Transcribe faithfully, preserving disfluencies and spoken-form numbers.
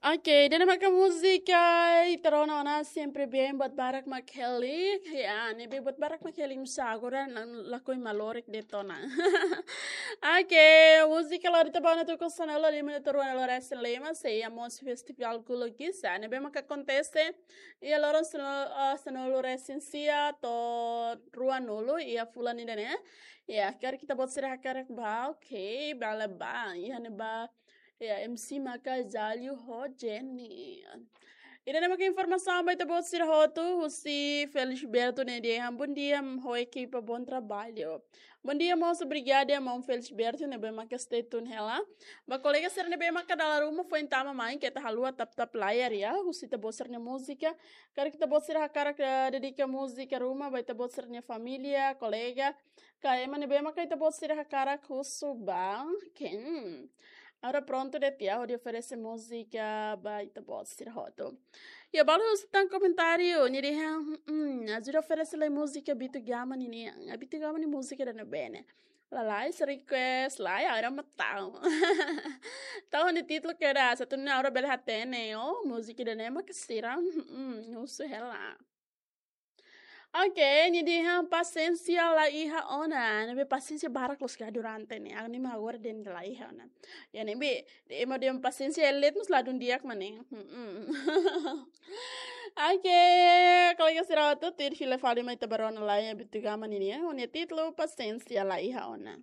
Oke, ida-ne'e maka múzika ita rona ona Sempre Bem, buat barak mak hela. Ya, ne'ebé buat barak mak hela, misa agora lakohi malorik de'it ona. Oke, múzika lori ita bá ona tuku sanulu lima, ita rua na loresen lema, sei iha mós festivál Gulugisa ne'ebé maka akontese iha loron sanulu, ah, sanulu resin sia to'o ruanulu iha fulan ida-ne'e. Ya, karik ita-boot sira hakarak bá, oke, bele bá, iha ne'ebá. Ya, M C maka Jalio ho Jenny. Ida-ne'e maka informasaun ba ita-boot sira hotu, husi Felisberto ne'e dehan: "Bom dia, ho ekipa, bom trabalho." Bom dia, moço, obrigada, maun Felisberto, ne'ebé maka stay tune hela. Ba kolega sira ne'ebé maka dala ruma, foin tama mai, keta haluha tap-tap layar ya, husi ita-boot sira-nia múzika. Karik ita-boot sira hakarak, eh, dedika múzika ruma ba ita-boot sira-nia família, kolega, ka ema ne'ebé maka ita-boot sira hakarak husu bá, oke, agora prontu de'it ya hodi oferese múzika ba ita-boot sira hotu. Ya, balu husu tan komentáriu, nia dehan, hmm, ajuda oferese lai múzika Bitu Gama ninian. Bitu Gama nia múzika ida-ne'ebé ne'e? Lalais request, lai, agora mak tau. Tau nia títulu kedas, atu nune'e agora bele hatene, oh, múzika ida-ne'e maka sira, hmm, husu hela. Oke, nia dehan pasiénsia la iha ona. Ne'ebé pasiénsia barak loos ka durante ne'e. Agora ne'e mak agora dehan la iha ona. Ya, ne'ebé, ema dehan pasiénsia elet mós ladún di'ak mak ne'e. Hmm. Oke, kolega sira hotu, tuir fila fali mai ita bá rona lai Bitu Gama ninian, ho nia títulu pasiénsia la iha ona.